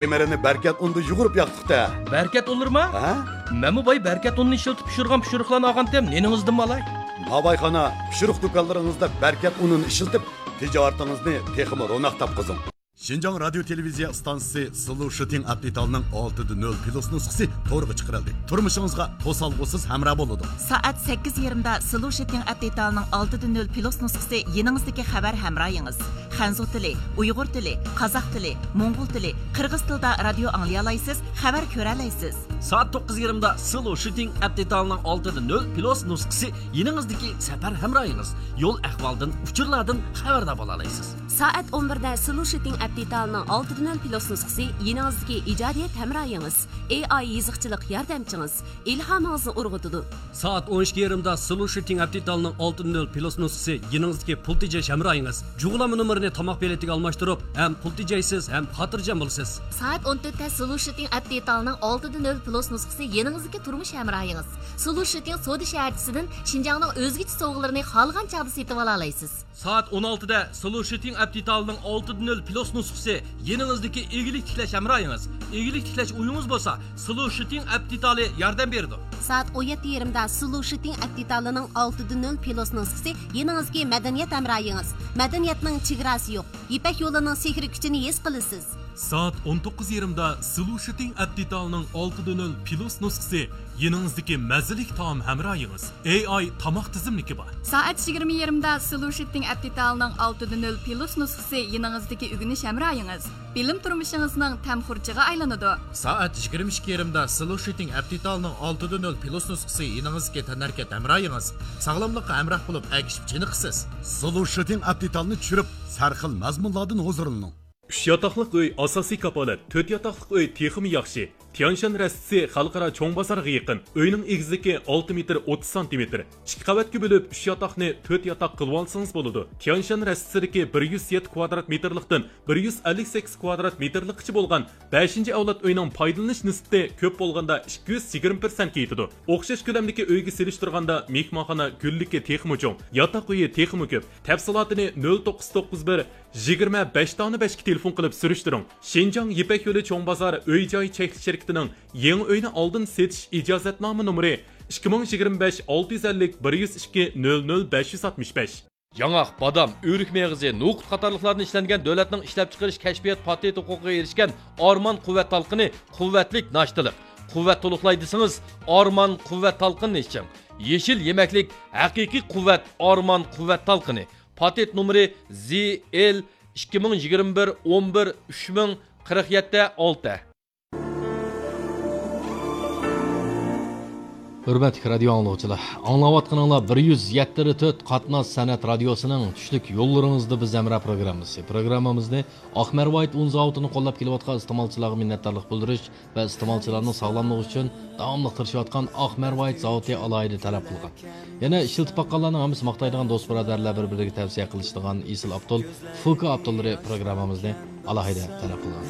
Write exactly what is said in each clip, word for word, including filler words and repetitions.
خېمىرىنى بەركەت ئۇندا يۇغۇرۇپ ياقتۇق-تە. بەركەت ئۇنلىرىما؟ ھە؟ مەنمۇ باي بەركەت ئۇنىنى ئىشلىتىپ پىشۇرغان پىشۇرۇقلارنى ئالغانتىم، نېنىڭىزدىنمۇ ئالاي؟ ناۋايخانا، پىشۇرۇق دۇكانلىرىڭىزدا بەركەت ئۇنىنى ئىشلىتىپ، تىجارىتىڭىزنى تېخىمۇ روناق تاپقۇزۇڭ. شىنجاڭ رادىيو تېلېۋىزىيە ئىستانسىسى سلوشىتىڭ ئەپ دېتالىنىڭ ئالتىدە نۆل پلۇس نۇسخىسى تورغا چىقىرىلدى. تۇرمۇشىڭىزغا توسالغۇسىز ھەمراھ بولىدۇ. سائەت سەككىز يېرىمدا سلوشىتىڭ ئەپ دېتالىنىڭ ئالتىدە نۆل پلۇس نۇسخىسى يېنىڭىزدىكى خەۋەر ھەمراھىڭىز. خەنزۇ تىلى، ئۇيغۇر تىلى، قازاق تىلى، موڭغۇل تىلى، قىرغىز تىلىدا رادىيو ئاڭلىيالايسىز، خەۋەر كۆرەلەيسىز. سائەت توققۇز يېرىمدا سلوشىتىڭ ئەپ دېتالىنىڭ ئالتىدە نۆل پلۇس نۇسخىسى يېنىڭىزدىكى سەپەر ھەمراھىڭىز. يول ئەھۋالدىن، ئۇچۇرلاردىن خەۋەردار بولالايسىز. سائەت ئون بىردە سلوشىتىڭ ئەپ دېتالىنىڭ ئالتىدە نۆل پلۇس نۇسخىسى يېنىڭىزدىكى ئىجادىيەت ھەمراھىڭىز. ئېي ئاي يېزىقچىلىق ياردەمچىڭىز. ئىلھامىڭىزنى ئۇرغۇتىدۇ. سائەت ئون ئىككى يېرىمدا سلوشىتىڭ ئەپ دېتالىنىڭ ئالتىدە نۆل پلۇس نۇسخىسى يېنىڭىزدىكى پۇل تېجەش ھەمراھىڭىز. جۇغلانما نومۇرىنى تاماق بېلىتىگە ئالماشتۇرۇپ، ھەم پۇل تېجەيسىز، ھەم خاتىرجەم بولىسىز. سائەت ئون تۆتتە سلوشىتىڭ ئەپ دېتالىنىڭ ئالتىدە نۆل پلۇس نۇسخىسى يېنىڭىزدىكى تۇرمۇش ھەمراھىڭىز. سلوشىتىڭ سودا شەھەرچىسىدىن شىنجاڭنىڭ ئۆزگىچە سوۋغىلىرىنى خالىغان چاغدا سېتىۋالالايسىز. سائەت ئون ئالتىدە سلوشىتىڭ ئەپ دېتالىنىڭ ئالتىدە نۆل پلۇس نۇسخىسى يېنىڭىزدىكى ئىگىلىك تىكلەش ھەمراھىڭىز. ئىگىلىك تىكلەش ئويىڭىز بولسا، سلوشىتىڭ ئەپ دېتالى ياردەم بېرىدۇ. سائەت ئون يەتتە يېرىمدا سلوشىتىڭ ئەپ دېتالىنىڭ ئالتىدە نۆل پلۇس نۇسخىسى يېنىڭىزدىكى مەدەنىيەت ھەمراھىڭىز. مەدەنىيەتنىڭ چېگراسى يوق. يىپەك يولىنىڭ سېھرىي كۈچىنى ھېس قىلىسىز. سائەت ئون توققۇز يېرىمدا سلوشىتىڭ ئەپ دېتالىنىڭ ئالتىدە نۆل پلۇس نۇسخىسى يېنىڭىزدىكى مەززىلىك تائام ھەمراھىڭىز. ئېي ئاي تاماق تىزىملىكى بار. سائەت يىگىرمە يېرىمدا سلوشىتىڭ ئەپ دېتالىنىڭ ئالتىدە نۆل پلۇس نۇسخىسى يېنىڭىزدىكى ئۆگىنىش ھەمراھىڭىز. بىلىم تۇرمۇشىڭىزنىڭ تەم خۇرجىنىغا ئايلىنىدۇ. سائەت يىگىرمە ئىككى يېرىمدا سلوشىتىڭ ئەپ دېتالىنىڭ ئالتىدە نۆل پلۇس نۇسخىسى يېنىڭىزدىكى تەنھەرىكەت ھەمراھىڭىز. ساغلاملىققا ھەمراھ بولۇپ، ئەگىشىپ چېنىقىسىز. سلوشىتىڭ ئەپ دېتالىنى چۈشۈرۈپ، سەرخىل مەزمۇنلاردىن ھۇزۇرلىنىڭ. ئۈچ ياتاقلىق ئۆي ئاساسىي كاپالەت، تۆت ياتاقلىق ئۆي تېخىمۇ ياخشى. تيانشان رەستىسى خەلقئارا چوڭ بازارغا يېقىن. ئۆينىڭ ئېگىزلىكى ئالتە مېتىر ئوتتۇز سانتىمېتىر. ئىككى قەۋەتكە بۆلۈپ، ئۈچ ياتاقنى تۆت ياتاق قىلىۋالسىڭىز بولىدۇ. تيانشان رەستىسىدىكى بىر يۈز يەتتە كۋادرات مېتىرلىقتىن بىر يۈز ئەللىك سەككىز كۋادرات مېتىرلىققىچە بولغان بەشىنچى ئەۋلاد ئۆينىڭ پايدىلىنىش نىسبىتى كۆپ بولغاندا ئىككى يۈز يىگىرمە پىرسەنتكە يېتىدۇ. ئوخشاش كۆلەمدىكى ئۆيگە سېلىشتۇرغاندا مېھمانخانا گۈللۈكى تېخىمۇ چوڭ، ياتاق ئۆيى تېخىمۇ كۆپ. تەپسىلاتىنى نۆل توققۇز توققۇز بىر، يىگىرمە بەش دانە بەشكە تېلېفون قىلىپ سۈرۈشتۈرۈڭ. شىنجاڭ يىپەك يولى چوڭ بازار ئۆي جاي چەكلىك شىركىتىنىڭ يېڭى ئۆينى ئالدىن سېتىش ئىجازەتنامە نومۇرى ئىككى مىڭ يىگىرمە بەش ئالتە يۈز ئەللىك بىر يۈز ئىككى نۆل نۆل بەش يۈز ئاتمىش بەش. ياڭاق، بادام، ئۆرۈك مېغىزى، نوقۇت قاتارلىقلاردىن ئىشلەنگەن دۆلەتنىڭ ئىشلەپچىقىرىش كەشپىيات پاتېنت ھوقۇقىغا ئېرىشكەن ئارمان قۇۋۋەت تالقىنى، قۇۋۋەتلىك ناشتىلىق. قۇۋۋەت تولۇقلاي دېسىڭىز، ئارمان قۇۋۋەت تالقىنىنى ئىچىڭ. يېشىل يېمەكلىك، ھەقىقىي قۇۋۋەت، ئارمان قۇۋۋەت تالقىنى. پاتېنت نومۇرى زى ئېل ئىككى مىڭ يىگىرمە بىر ئون بىر ئۈچ مىڭ قىرىق يەتتە ئالتە. ھۆرمەتلىك رادىيو ئاڭلىغۇچىلار، ئاڭلاۋاتقىنىڭلار بىر يۈز يەتتە تۆت قاتناش سەنئەت رادىيوسىنىڭ چۈشلۈك يوللىرىڭىزدا بىز ھەمراھ پروگراممىسى. پروگراممىمىزنى ئاق مەرۋايىت ئۇن زاۋۇتىنى قوللاپ كېلىۋاتقان ئىستېمالچىلارغا مىننەتدارلىق بىلدۈرۈش ۋە ئىستېمالچىلارنىڭ ساغلاملىقى ئۈچۈن داۋاملىق تىرىشىۋاتقان ئاق مەرۋايىت زاۋۇتى ئالاھىدە تەلەپ قىلغان. يەنە ئىشلىتىپ باققانلارنىڭ ھەممىسى ماختايدىغان دوست بۇرادەرلەر بىر-بىرىگە تەۋسىيە قىلىشىدىغان ئېسىل ئاپتول فۇكا ئاپتوللىرى پروگراممىمىزنى ئالاھىدە تەلەپ قىلغان.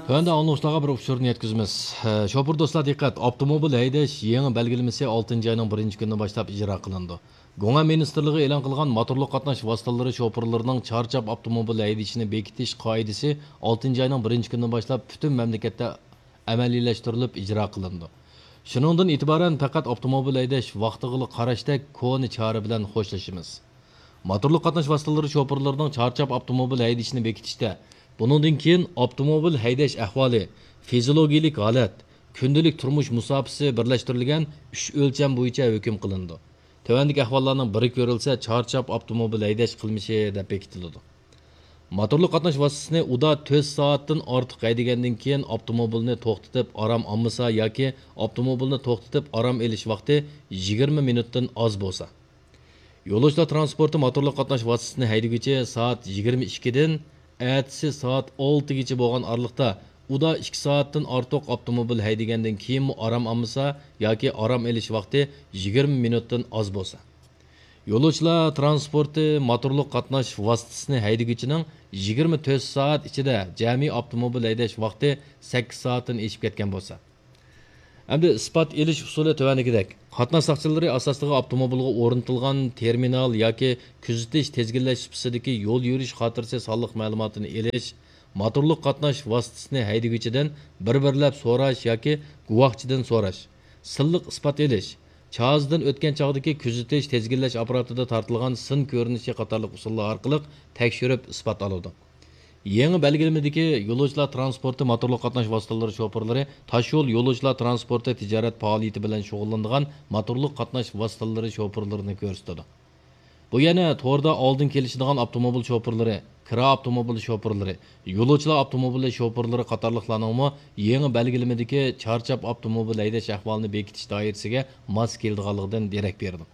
تۆۋەندە ئاڭلىغۇچىلارغا بىر ئۇچۇرنى يەتكۈزىمىز. شوپۇر دوستلار دىققەت! ئاپتوموبىل ھەيدەش يېڭى بەلگىلىمىسى ئالتىنچى ئاينىڭ بىرىنچى كۈنىدىن باشلاپ ئىجرا قىلىنىدۇ. گۇڭئەن مىنىستىرلىقى ئېلان قىلغان موتورلۇق قاتناش ۋاسىتىلىرى شوپۇرلىرىنىڭ چارچاپ ئاپتوموبىل ھەيدىشىنى بېكىتىش قائىدىسى ئالتىنچى ئاينىڭ بىرىنچى كۈنىدىن باشلاپ پۈتۈن مەملىكەتتە ئەمەلىيلەشتۈرۈلۈپ ئىجرا قىلىنىدۇ. شۇنىڭدىن ئېتىبارەن پەقەت ئاپتوموبىل ھەيدەش ۋاقتىغىلا قاراشتەك كونا چارە بىلەن خوشلىشىمىز. موتورلۇق قاتناش ۋاسىتىلىرى شوپۇرلىرىنىڭ چارچاپ ئاپتوموبىل ھەيدىشىنى بېكىتىشتە، بۇنىڭدىن كېيىن ئاپتوموبىل ھەيدەش ئەھۋالى، فىزىولوگىيىلىك ھالەت، كۈندىلىك تۇرمۇش مۇساپىسى بىرلەشتۈرۈلگەن ئۈچ ئۆلچەم بويىچە ھۆكۈم قىلىنىدۇ. تۆۋەندىكى ئەھۋاللارنىڭ بىرى كۆرۈلسە، چارچاپ ئاپتوموبىل ھەيدەش قىلمىشى دەپ بېكىتىلىدۇ. موتورلۇق قاتناش ۋاسىتىسىنى ئۇدا تۆت سائەتتىن ئارتۇق ھەيدىگەندىن كېيىن ئاپتوموبىلنى توختىتىپ ئارام ئالمىسا ياكى ئاپتوموبىلنى توختىتىپ ئارام ئېلىش ۋاقتى يىگىرمە مىنۇتتىن ئاز بولسا. يولۇچىلار ترانسپورتى موتورلۇق قاتناش ۋاسىتىسىنى ھەيدىگۈچى سائەت يىگىرمە ئىككىدىن ئەتىسى سائەت ئالتىگىچە بولغان ئارىلىقتا ئۇدا ئىككى سائەتتىن ئارتۇق ئاپتوموبىل ھەيدىگەندىن كېيىنمۇ ئارام ئالمىسا ياكى ئارام ئېلىش ۋاقتى يىگىرمە مىنۇتتىن ئاز بولسا. يولۇچىلار ترانسپورتى موتورلۇق قاتناش ۋاسىتىسىنى ھەيدىگۈچىنىڭ يىگىرمە تۆت سائەت ئىچىدە جەمئىي ئاپتوموبىل ھەيدەش ۋاقتى سەككىز سائەتتىن ئېشىپ كەتكەن بولسا. ئەمدى ئىسپات ئېلىش ئۇسۇلى تۆۋەندىكىدەك. قاتناش ساقچىلىرى ئاساسلىقى ئاپتوموبىلغا ئورنىتىلغان تېرمىنال ياكى كۆزىتىش، تىزگىنلەش سۇپىسىدىكى يول يۈرۈش خاتىرىسى سانلىق مەلۇماتىنى ئېلىش، موتورلۇق قاتناش ۋاسىتىسىنى ھەيدىگۈچىدىن بىر-بىرلەپ سوراش ياكى گۇۋاھچىدىن سوراش، سىنلىق ئىسپات ئېلىش، چازىدىن ئۆتكەن چاغدىكى كۆزىتىش، تىزگىنلەش ئاپپاراتىدا تارتىلغان سىن كۆرۈنۈشى قاتارلىق ئۇسۇللار ئارقىلىق تەكشۈرۈپ ئىسپات ئالىدۇ. يېڭى بەلگىلىمىدىكى يولۇچىلار تىرانسپورتى موتورلۇق قاتناش ۋاسىتىلىرى شوپۇرلىرى تاشيول يولۇچىلار تىرانسپورتى تىجارەت پائالىيىتى بىلەن شۇغۇللىنىدىغان موتورلۇق قاتناش ۋاسىتىلىرى شوپۇرلىرىنى كۆرسىتىدۇ. بۇ يەنە توردا ئالدىن كېلىشىدىغان ئاپتوموبىل شوپۇرلىرى، كىرا ئاپتوموبىل شوپۇرلىرى، يولۇچىلار ئاپتوموبىلى شوپۇرلىرى قاتارلىقلارنىڭمۇ يېڭى بەلگىلىمىدىكى چارچاپ ئاپتوموبىل ھەيدەش ئەھۋالىنى بېكىتىش دائىرىسىگە ماس كېلىدىغانلىقىدىن دېرەك بېرىدۇ.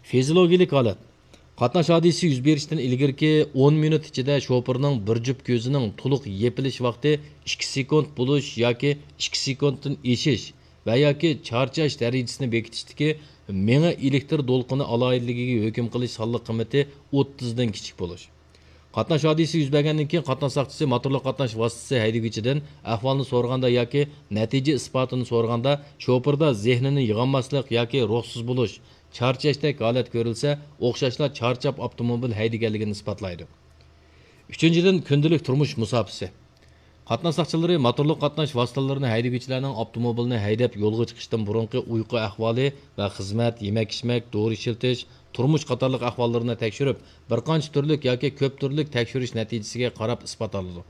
فىزىولوگىيەلىك ھالەت. قاتناش ھادىسىسى يۈز بېرىشتىن ئىلگىرىكى ئون مىنۇت ئىچىدە شوپۇرنىڭ بىر جۈپ كۆزىنىڭ تولۇق يېپىلىش ۋاقتى ئىككى سېكۇنت بولۇش ياكى ئىككى سېكۇنتتىن ئېشىش ۋە ياكى چارچاش دەرىجىسىنى بېكىتىشتىكى مېڭە ئېلېكتر دولقۇنى ئالاھىدىلىكىگە ھۆكۈم قىلىش سانلىق قىممىتى ئوتتۇزدىن كىچىك بولۇش. قاتناش ھادىسىسى يۈز بەرگەندىن كېيىن، قاتناش ساقچىسى موتورلۇق قاتناش ۋاسىتىسى ھەيدىگۈچىدىن ئەھۋالنى سورىغاندا ياكى نەتىجە ئىسپاتىنى سورىغاندا، شوپۇردا زېھنىنى يىغالماسلىق ياكى روھسىز بولۇش، چارچاشتەك ھالەت كۆرۈلسە، ئوخشاشلا چارچاپ ئاپتوموبىل ھەيدىگەنلىكىنى ئىسپاتلايدۇ. ئۈچىنچىدىن، كۈندىلىك تۇرمۇش مۇساپىسى. قاتناش ساقچىلىرى موتورلۇق قاتناش ۋاسىتىلىرىنى ھەيدىگۈچىلەرنىڭ ئاپتوموبىلنى ھەيدەپ يولغا چىقىشتىن بۇرۇنقى ئۇيقۇ ئەھۋالى ۋە خىزمەت، يېمەك-ئىچمەك، دورا ئىشلىتىش، تۇرمۇش قاتارلىق ئەھۋاللىرىنى تەكشۈرۈپ، بىر قانچە تۈرلۈك ياكى كۆپ تۈرلۈك تەكشۈرۈش نەتىجىسىگە قاراپ ئىسپات ئالىدۇ.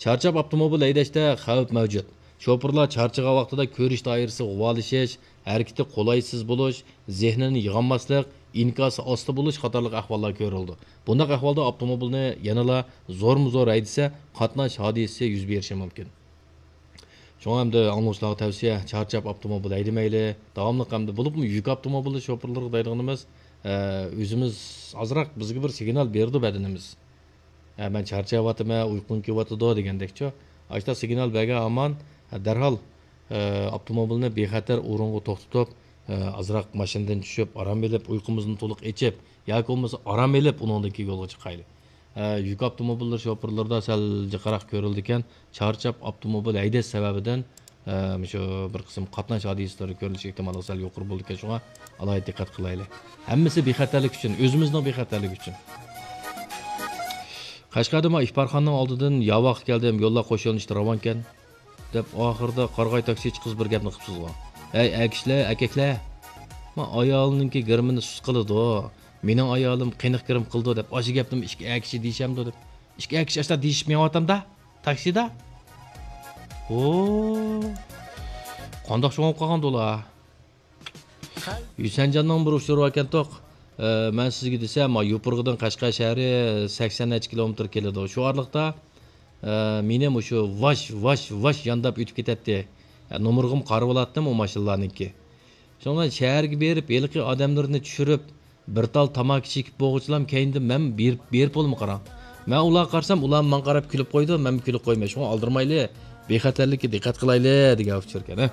چارچاپ ئاپتوموبىل ھەيدەشتە خەۋپ مەۋجۇت. شوپۇرلار چارچىغان ۋاقتىدا كۆرۈش دائىرىسى غۇۋالىشىش، ھەرىكىتى قولايسىز بولۇش، زېھنىنى يىغالماسلىق، ئىنكاسى ئاستا بولۇش قاتارلىق ئەھۋاللار كۆرۈلىدۇ. بۇنداق ئەھۋالدا ئاپتوموبىلنى يەنىلا زورمۇ زور ھەيدىسە، قاتناش ھادىسىسى يۈز بېرىشى مۇمكىن. شۇڭا ئەمدى ئاڭلىغۇچىلارغا تەۋسىيە، چارچاپ ئاپتوموبىل ھەيدىمەيلى، داۋاملىق ئەمدى بولۇپمۇ يۈك ئاپتوموبىلى شوپۇرلىرىغا دەيدىغىنىمىز، ئە، ئۆزىمىز ئازراق بىزگە بىر سىگنال بېرىدۇ بەدىنىمىز. ئە، مەن چارچاۋاتىمەن، ئۇيقۇڭ كېلىۋاتىدۇ دېگەندەكچۇ. ئاشۇنداق سىگنال بەرگەن ھامان، ئە، دەرھال، ئە، ئاپتوموبىلنى بىخەتەر ئورۇنغا توختىتىپ، ئە، ئازراق ماشىنىدىن چۈشۈپ، ئارام ئېلىپ، ئۇيقۇمىزنى تولۇق ئېچىپ، ياكى بولمىسا ئارام ئېلىپ ئۇنىڭدىن كېيىن يولغا چىقايلى. ئە، يۈك ئاپتوموبىللىرى شوپۇرلىرىدا سەل جىقراق كۆرۈلىدىكەن، چارچاپ ئاپتوموبىل ھەيدەش سەۋەبىدىن، ئە، مۇشۇ بىر قىسىم قاتناش ھادىسىلىرى كۆرۈلۈش ئېھتىماللىقى سەل يۇقىرى بولىدىكەن، شۇڭا ئالاھىدە دىققەت قىلايلى. ھەممىسى بىخەتەرلىك ئۈچۈن، ئۆزىمىزنىڭ بىخەتەرلىكى ئۈچۈن. قەشقەردە مانا ئىپارخانىنىڭ ئالدىدىن ياۋاققا كەلدىم، يوللار قوش يۆنىلىشتە راۋانكەن، دەپ ئاخىرىدا قارىغاي تاكسىچى قىز بىر گەپنى قىپسىزغۇ. ھەي ئەكىشلەر، ئەكەكلەر! ما ئايالنىڭكى گىرىمىنى سۇس قىلىدۇ. مېنىڭ ئايالىم قېنىق گىرىم قىلىدۇ دەپ ئاشۇ گەپنىمۇ ئىككى ئەكىشى دېيىشەمدۇ دەپ. ئىككى ئەكىشى ئاشۇنداق دېيىشىپ مېڭىۋاتامدا. تاكسىدا؟ ھو. قانداق شۇڭاپ قالغاندۇ ئۇلار؟ ھۈسەنجاننىڭ بىر ئۇچۇرى باركەنتۇق. ئە، مەن سىزگە دېسەم، ما يوپۇرغىدىن قەشقەر شەھىرى سەكسەن نەچچە كىلومېتىر كېلىدۇ. شۇ ئارىلىقتا، ئە، مېنى مۇشۇ ۋاش، ۋاش، ۋاش يانداپ ئۆتۈپ كېتەتتى. ئە، نومۇرغىمۇ قارىۋالاتتىم ئۇ ماشىنىلارنىڭكى. شۇڭا مەن شەھەرگە بېرىپ، ھېلىقى ئادەملىرىنى چۈشۈرۈپ، بىر تال تاماكا چېكىپ بولغۇچىلام كەينىدىن مەن بېرىپ، بېرىپ بولىمۇ قاراڭ. مەن ئۇلارغا قارىسام، ئۇلار ماڭا قاراپ كۈلۈپ قويىدۇ، مەنمۇ كۈلۈپ قويىمەن. شۇڭا ئالدىرىمايلى، بىخەتەرلىككە دىققەت قىلايلى دېگەن ئۇچۇركەن، ھە.